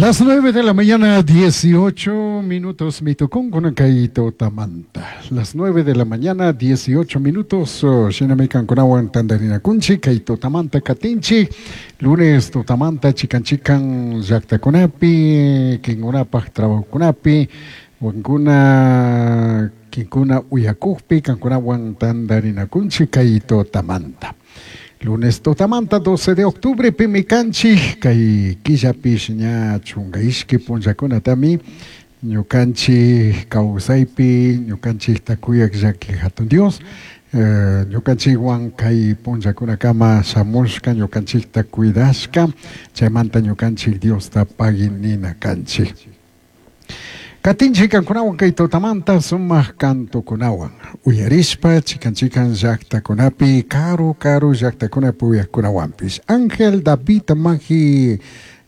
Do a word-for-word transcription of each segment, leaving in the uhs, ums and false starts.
Las nueve de la mañana, dieciocho minutos, mitukunkuna kay tutamanta. Las nueve de la mañana, dieciocho minutos, shinami kankunawan tandarinakunchik, kay tutamanta katinchik, lunes tutamanta chikan chikan llaktakunapi, kinkunapaj trabajokunapi, wankuna kinkuna uyakukpi, kankunawan tandarinakunchik kay tutamanta. Lunes tutamanta doce de octubre pimi kanchik kay killapish ña chunka ishki punllakunatami ñukanchik kawsaypi ñukanchikta kuyak llaki hatun Dios eh, ñukanchikwan kay punllakunakama shamushka ñukanchikta cuidashka chaymanta ñukanchik Diosta pagui nina kanchik. Katinchik kankunawan kay tutamanta sumaq kantukunawan uyarishpa chikan chikan llaktakunapi karu karu llaktakunapi uyaqkunawanpish. Ángel David Maji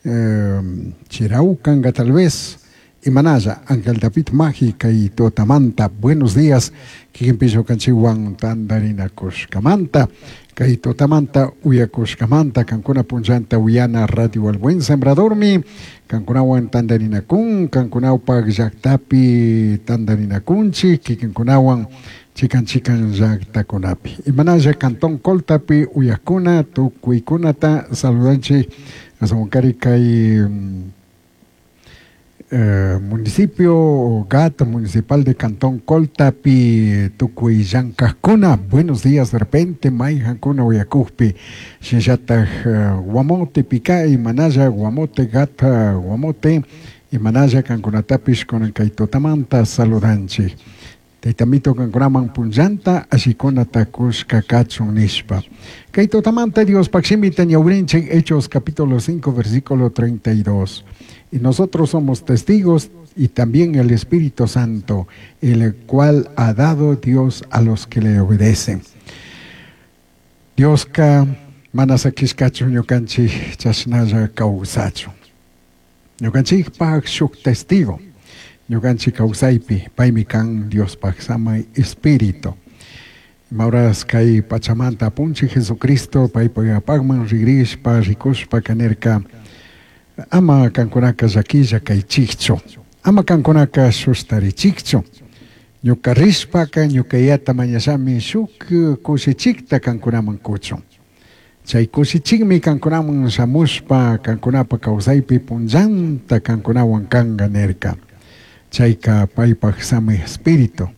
eh, Chiraucanga tal vez imanalla Ángel David Maji kay tutamanta buenos días kikinpish ñukanchikwan tandarinakushkamanta kay tutamanta uyakushkamanta kankuna punllanta uyana Radio El Buen Sembradormi kankunawan tandarinakun kankunawpak llaktapi tandarinakunchik kikinkunawan chikan chikan llaktakunapi imanalla Cantón Coltapi uyakuna tukuykunata saludanchik asawankari kay Eh, municipio G A T municipal de Cantón Coltapi tukuy llankajkuna buenos días de repente mayjankuna uyakukpi shinallataj uh, Guamote Pica imanalla Guamote G A T Guamote imanalla kankunatapish kunan kay tutamanta saludanchik Taytamito kankunaman punllanta allikunata kushka kachun nishpa. Kay tutamanta Diospaj shimita ñawrinchik Hechos capítulo cinco versículo treinta y dos. Y nosotros somos testigos y también el Espíritu Santo, el cual ha dado Dios a los que le obedecen. Dioska mana sakishkachu ñukanchik chashnalla kawsachun. Ñukanchikpaj shuk testigo. Ñukanchik kawsaypi paymi kan Diospaj samay Espíritu. Mauras kay pachamanta apunchik Jesucristo paypaj rigrishpa rikushpa kanirka ama kankunaka llakilla kaychikchu ama kankunaka shustarichikchu ñuka rishpaka ñuka Yayata mañashami shuk kushichikta kankunaman kuchun chay kushichikmi kankunaman shamushpa kankunapa kawsaypi punllanta kankunawan kanka nirka chayka paypaj samay Espíritu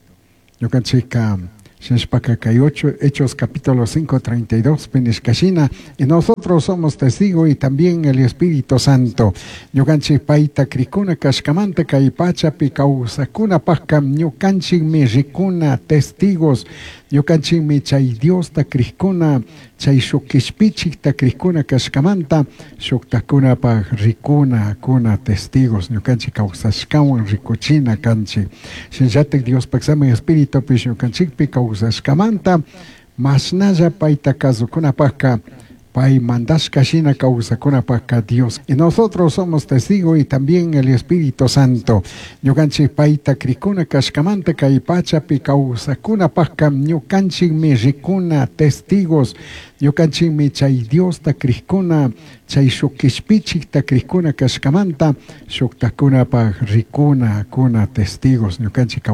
ñukanchikka shinashpaka kay ocho, Hechos capítulo cinco, treinta y dos nishkashina y nosotros somos testigos y también el Espíritu Santo ñukanchik payta krikuna kashkamanta kay pachapi kawsakunapajka ñukanchikmi rikuna testigos ñukanchikmi chay Diosta krikuna chay shuk kishpichikta krikuna kashkamanta shuktakunapaj rikuna kuna testigos ñukanchik kawsashkawan rikuchina kanchik shinallatik Diospaj samay Espiritupish ñukanchikpi kawsashkamanta mashnalla payta kasukunapajka pay mandashka shina kawsakunapajka Dios y nosotros somos testigos y también el Espíritu Santo ñukanchik payta krikuna kashkamanta kay pachapi kawsakunapajka ñukanchikmi rikuna testigos ñukanchikmi chay Diosta krikuna chay shuk kishpichikta krikuna kashkamanta shuktakunapaj rikuna kuna testigos ñukanchik